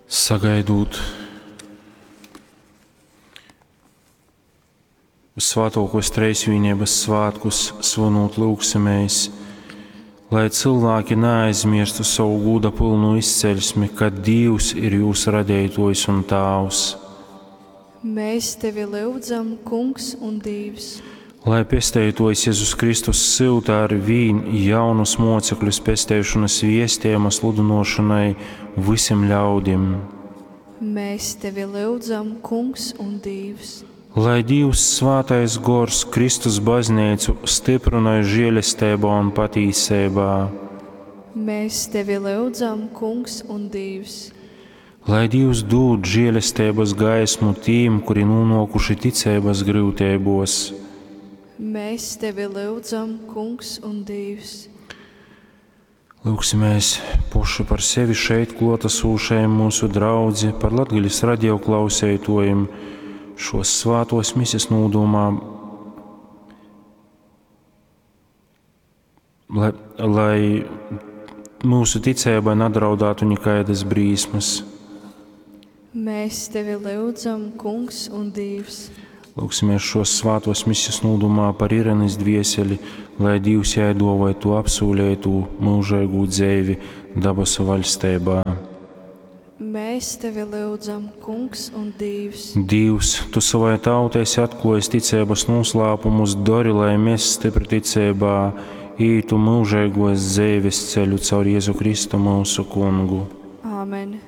Sagaidūt Svātōkōs Treisvīneibas svātkus, svynūt lyugsimēs, lai cylvāki naaizmierstu sovu gūda pylnu izceļsmi, ka Dīvs ir jūs radeitōjs un Tāvs. Mēs tevi lyudzam, Kungs un Dīvs. Lai Pesteitōjs Jezus Kristus syuta ar vīn jaunus mōcekļus pesteišonas viestejuma sludynōšonai vysim ļaudim. Mēs tevi lyudzam, Kungs un Dīvs. Lai Dīvs Svātais Gors Kristus bazneicu styprynoj žielesteibā un patīseibā. Mēs tevi lyudzam, Kungs un Dīvs. Lai Dīvs dūd žielesteibas gaismu tīm, kuri nūnuokuši ticeibas gryuteibos. Mēs tevi lyudzam, Kungs un Dīvs. Lūgsimies poši par sevi šeit kluotasūšajim mūsu draudzi, par Latgales radio klauseituojim, šos svātos mises nūdomā, lai, lai mūsu ticībai nedraudātu nekaidas brīsmas. Mēs tevi lyudzam, Kungs un Dīvs. Lūgsimies šos svātos mises nūdomā par Irenes dvieseli, lai Dīvs jai duovoj to apsūlētū mūžīgū dzeivi dabasu vaļsteibā. Mēs tevi lyudzam, Kungs un Dīvs. Dīvs, tu savai tautai esi atklājis ticeibas noslēpumus, dori, lai mēs stipri ticeibā ītu mūžīgos dzeives ceļu caur Jēzu Kristu mūsu kungu. Āmen.